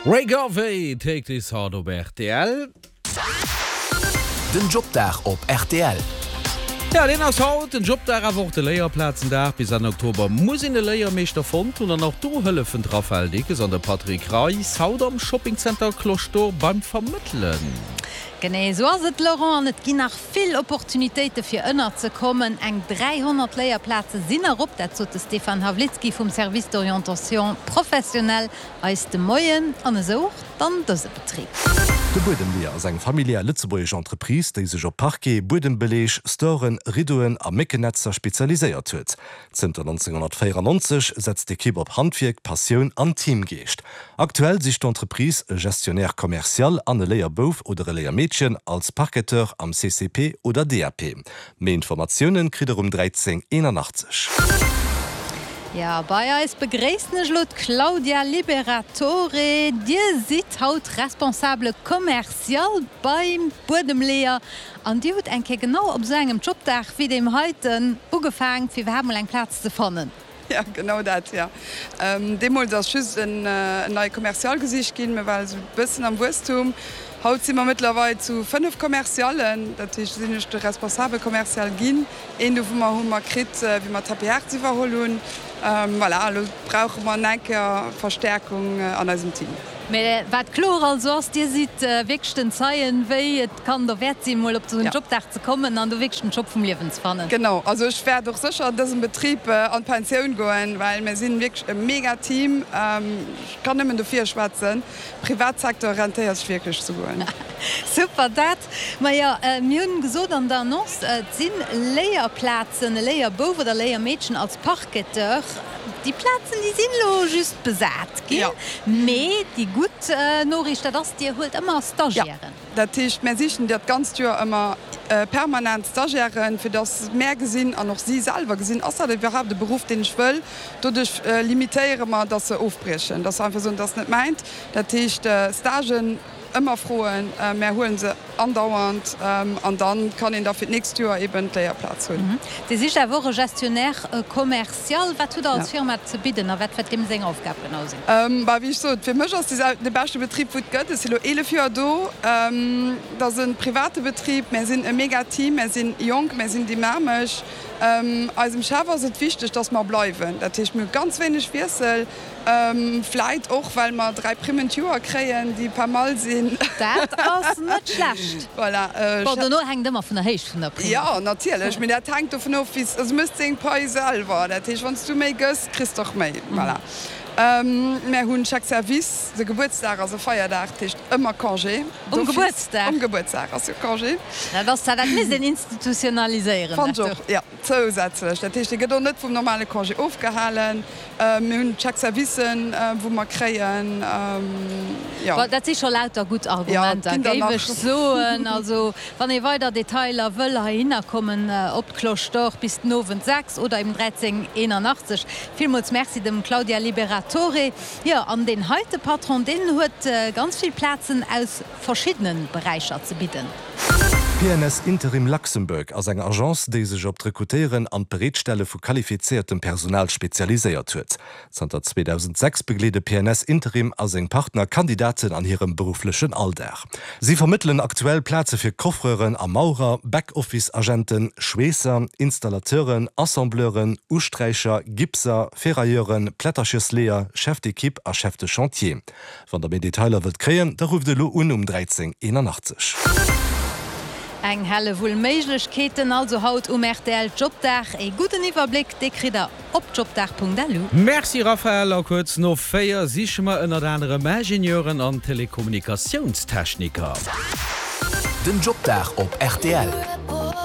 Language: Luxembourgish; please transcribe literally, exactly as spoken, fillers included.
Ray Garvey, Take This Heart op rtl. Den Jobdag op rtl. Ja, deen ass haut, den Jobdag, awer och de Léierplazendag. Bis Enn Oktober muss een e Léiermeeschter fonnt hunn an och do hëllefen d'Raphaëlle Dickes an de Patrick Reis haut am Shoppingcenter Cloche d'Or beim Vermëttelen. Genee esou ass et, Laurent, an et ginn nach vill Opportunitéite fir ënnerzekommen. Eng dräihonnert Léierplaze sinn erop, dat sot de Stéphane Hawlitzki vum Service d'orientation professionnelle eis de Moien, an esou och dann dëse Betrib. De Buedemleeër ass eng familiär lëtzebuergesch Entreprise, déi sech op Parquet, Buedembeleeg, Storen, Riddoen a Méckennetzer spezialiséiert huet. Zënter nonzénghonnertvéierannonzeg setzt d'Ekipp op Handwierk, Passioun an Teamgeescht. Aktuell sicht d'Entreprise e Gestionnaire commercial an e Léierbouf oder e Léiermeedchen als Parqueteur am C C P oder D A P. Méi Informatiounen kritt der um dräizéng eenanachtzeg. Jo, bei eis begréissen ech elo d'Claudia Liberatore. Dir sidd haut Responsable commercial beim Buedemleeër an Dir hutt eng Kéier genau op esou engem Jobdag wéi deem heiten ugefaang, fir iwwerhaapt mol eng Plaz ze fannen. Jo, genau dat, jo. Deemools ass just en neie Commercial gesicht ginn, mir ware sou e bëssen am Wuesstum. Haut si mer mëttlerweil zu fënnef Commerciallen, dat heescht, sinn ech de Responsable commercial ginn. Een dovunner hu mer kritt, wéi mer Tapis Hertz iwwerholl hunn. Voilà, elo brauche mer nach eng Kéier Verstäerkung an eisem Team. Mä wat kloer also ass, Dir sidd wierklech den Zeien, wéi et kann derwäert sinn, mol op esou en Jobdag ze kommen an do wierklech den Job vum Liewen ze fannen. Genau, also ech wäert och sécher an dësem Betrib an d'Pensioun goen, well mir sinn wierklech e mega Team. Ech kann nëmmen dofir schwätzen. Privatsecteur rentéiert sech wierklech ze goen. Super dat. Majo, mir hunn gesot an der Annonce, et si Léierplazen, e Léierbouf oder Léiermeedchen als Parqueteur. Déi Plazen, déi sinn elo just besat ginn. Mee déi gutt Noriicht, dat ass, Dir huelt ëmmer Stagiairen. Jo, dat heescht, mär sichen dat ganzt Joer ëmmer permanent Stagiairen, fir dass mär gesinn an och si selwer gesinn, ass dat iwwerhaapt e Beruff, deen ech wëll. Doduerch limitéiere mer, dass se ofbriechen, dass se einfach soen, dat ass net mäint. Dat heescht, Stagen ëmmer froen, mär huele se andauernd an da kann een da fir d'nächst Joer eben d'Léierplaz hunn. Dir sicht awer och e Gestionnaire commercial. Wat hutt Der als Firma ze bidden a wat wäert deem seng Aufgab genau sinn? Bah, wéi ech sot, fir mech ass dee de beschte Betrib, wou et gëtt. Ech si lo eelef Joer do. Et ass e private Betrib. Mär sinn e mega Team, mär sinn jonk, mär sinn dynamesch. Eisem Chef ass et wichteg, dass mer bleiwen. Dat heescht, mir hu ganz wéineg Wiessel. Vläit och, well mer dräi Primmen d'Joer kréien, déi pas mal sinn. Dat ass net schlecht. Voilà. Bon, dono hänkt ëmmer vun der Héicht vun der Primm of. Jo, natierlech. Mee dat hänkt dovun of, wéi s, also méchs deng Pai selwer. Dat heescht, wann s du méi gëss, kriss d'och méi. Voilà. Mär hunn Chèque service. De Gebuertsdag ass e Feierdag, dat heescht ëmmer Congé. Um Gebuertsdag? Um Gebuertsdag ass jo Congé. Dat ass zwar, dat misst een institutionaliséieren. Fannt ech och, jo. Zousätzlech, dat heescht, dee gëtt och net vum normale Congé ofgehalen. Mir hunn Chèque-servicen, wou mer kréien, jo. Bon, dat si scho lauter gutt Jo, et Argumenter, ginn der géif nach. ech soen. Also, wann ee weider Detailer wëll, heihinner kommen op d'Cloche d'Or bis den Owend sechs oder eben dräizéng eenanachtzeg. Villmools Merci dem Claudia Liberatore. Jo, an deen heite Patron, deen huet ganz vill Plazen aus verschiddene Beräicher ze bidden. P N S Interim Luxembourg ass eng Agence, déi sech op d'Rekrutéieren an d'Bereetstelle vu qualifizéiertem Personal spezialiséiert huet. Zanter zweedausendsechs begleede P N S Interim a seng Partner Kandidaten an hirem berufflechen Alldag. Si vermëttelen aktuell Plaze fir Coffreuren a Maurer, Back-Office-Agenten, Schweesser, Installateuren, Assembleuren, Usträicher, Gipser, Ferrailleuren, Plätterchersleeër, Chef d'équipe a Chef de chantier. Wann der méi Detailer wëllt kréien, da rufft elo un um dräizéng eenanachtzeg. Eng Hellewull Méiglechkeeten also haut um R T L Jobdag. E gudden Iwwerbléck, dee kritt der op jobdag Punkt L U. Merci Raphaëlle, a kuerz no véier siche mer ënnert anerem Ingenieuren an Telekommunikatiounstechniker. Den Jobdag op R T L.